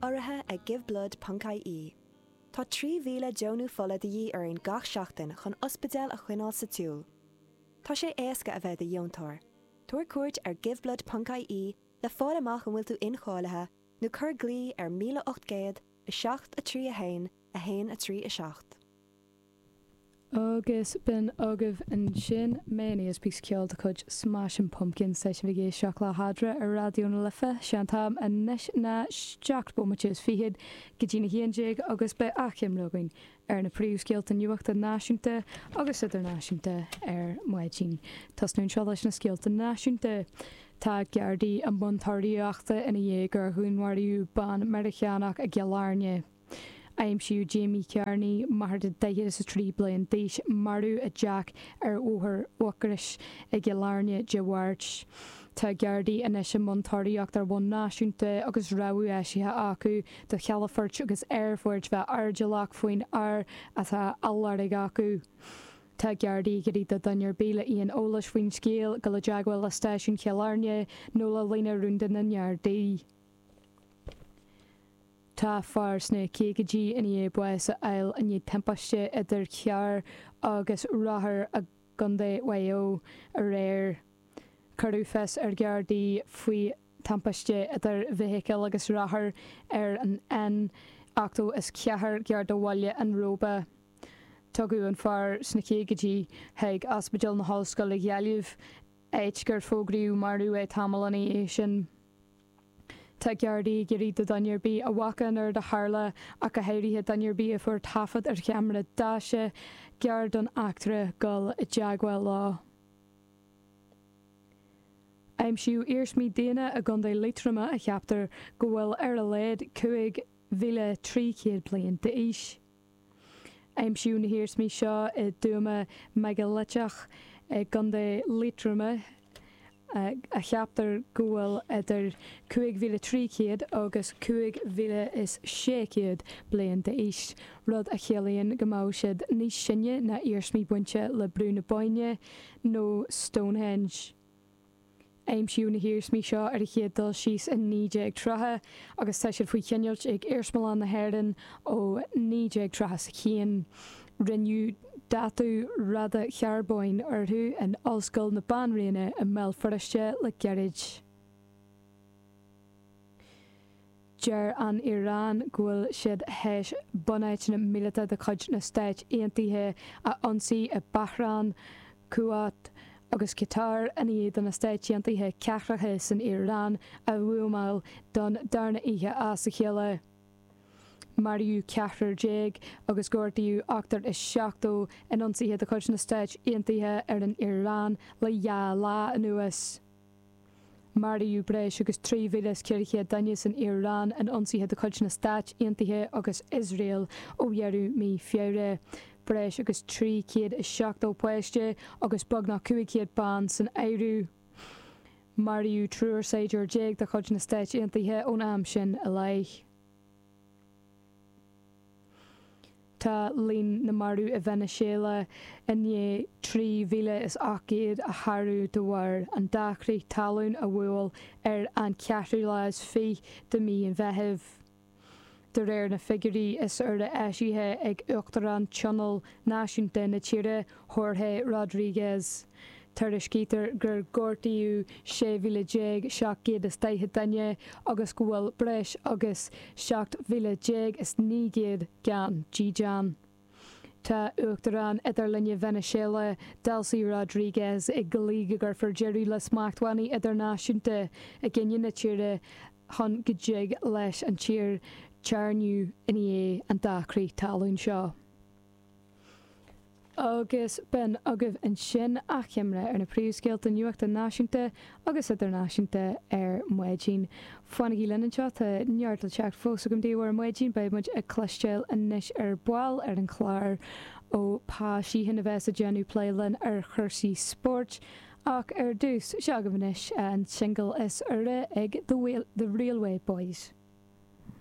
Urraithe ag Giveblood ponc ie. Tá 3,000 deonú fola de dhíth orainn gach seachtain chun ospidéil a choinneáil sa tsiúl. Tá sé éasca a bheith i do dheontóir. Tabhair cuairt ar giveblood ponc ie le fáil amach an bhfuil tú incháilithe nó cuir glao ar 1800 7 3 1 1 3 7. Agus b'in agaibh ansin Mayonnaise, píosa ceoil de chuid Smashing Pumpkins. Tá sibh ag éisteacht le hEadra ar Raidió na Life. Sé an t-am anois ná seacht bomaite is fichead go dtí'n 11 agus beidh achoimre againn ar na príomhscéalta nuachta náisiúnta agus idirnáisiúnta ar maidin. Tosnú anseo leis na scéalta náisiúnta. Tá Gardaí i mbun tóraíochta ina dhiaidh gur dhúnmharaíodh bean Meiriceánach i gCill Airne. Aimsíodh Jamie Kearney, máthair de 43 bliain d'aois, marbh i dteach ar Bhóthar Mhucrois i gCill Airne Dé Máirt. Tá Gardaí anois i mbun tóraíocht ar bhonn náisiúnta agus rabhadh eisithe acu do chalafoirt agus aerfoirt bheith airdeallach faoin fhear atá á lorg acu. Tá Gardaí ag iarraidh do dhuine ar bith le aon eolais faoin scéal dul i dteagmháil le Stáisiún Chill Airne nó le líne rúnda na nGardaí. Tá fear sna caogaidí i ndiaidh bás a fháil i ndiaidh timpiste idir charr agus rothar i gContae Mhaigh Eo aréir. Cuireadh fios ar Ghardaí faoi thimpiste idir bhfeithicil agus rothar ar an N84 gar do bhaile an Róba. Tugadh an fear sna caogaidí chuig Ospidéal na hOllscoile Gaillimh, áit gur fógraíodh marbh é tamall ina dhiaidh sin. Tá Gardaí ag iarraidh do dhuine ar bith a bhfaca an rud a tharla, ach go háirithe duine ar bith a fuair taifead ar cheamara daise gar don eachtra, dul i dteagmháil leo. Aimsíodh iarsmaí daonna i gContae Liatroma a cheaptar go bhfuil ar a laghad 5,300 bliain d'aois. Aimsíodh na hiarsmaí seo i dtuama meigiliteach i gContae Liatroma a cheaptar go bhfuil idir 5,300 agus 5,600 bliain d'aois, rud a chiallaíonn go mbeadh siad níos sine ná iarsmaí bainte le Brú na Bóinne nó Stonehenge. Aimsíodh na hiarsmaí seo ar a chéad dul síos i 1930 agus tá siad faoi choinneáilt ag Iarsmalann na hÉireann ó 1931. Rinneadh dátú radacharbóin orthu in Ollscoil na Banríona i mBéal Feirste le gairid. Deir an Iaráin go bhfuil siad théis bunáiteanna míleata de chuid na Stáit Aontaithe a ionsaí i Bahrain, Kuwait agus Catar i ndiaidh do na Stáit Aontaithe cathracha san Iaráin a bhuamáil don darna oíche as a chéile. Maraíodh ceathrar déag agus gortaíodh 78 in ionsaithe de chuid na Stáit Aontaithe ar an Iaráin le dhá lá anuas. Maraíodh breis agus 3,400 duine san Iaráin in ionsaithe de chuid na Stáit Aontaithe agus Iosrael ó dheireadh mí Feabhra, breis agus 370 páiste agus beagnach 500 bean san áireamh. Maraíodh triúr saighdiúir déag de chuid na Stáit Aontaithe ón am sin i leith. Tá líon na marbh i Veiniséala i ndiaidh 3,800 a shárú de bharr an dá chrith talún a bhuail ar an cheathrú lá is fiche de mhí an Mheithimh. De réir na figiúirí is úire eisithe ag Uachtarán Tionól Náisiúnta na tíre, Jorge Rodríguez, tuairiscítear gur gortaíodh 16,740 duine agus go bhfuil breis agus 17,900 gan dídean. Tá Uachtarán Idirlinne Veiniséala, Delcy Rodríguez, ag glaoch go gcuirfear deireadh le smachtbhannaí idirnáisiúnta i gcoinne na tíre chun go dtig leis an tír téarnamh i ndiaidh an dá chrith talún seo. Agus b'in agaibh ansin achoimre ar na príomhscéalta nuachta náisiúnta agus idirnáisiúnta ar maidin. Fanaigí linn anseo, tá neart le teacht fós agam daoibh ar maidin. Beidh muid ag cloisteáil anois ar ball ar an chlár ó Pa Sheehan a bheas ag déanamh plé linn ar chúrsaí spóirt. Ach ar dtús, seo agaibh anois an singil is úire ag The Railway Boys.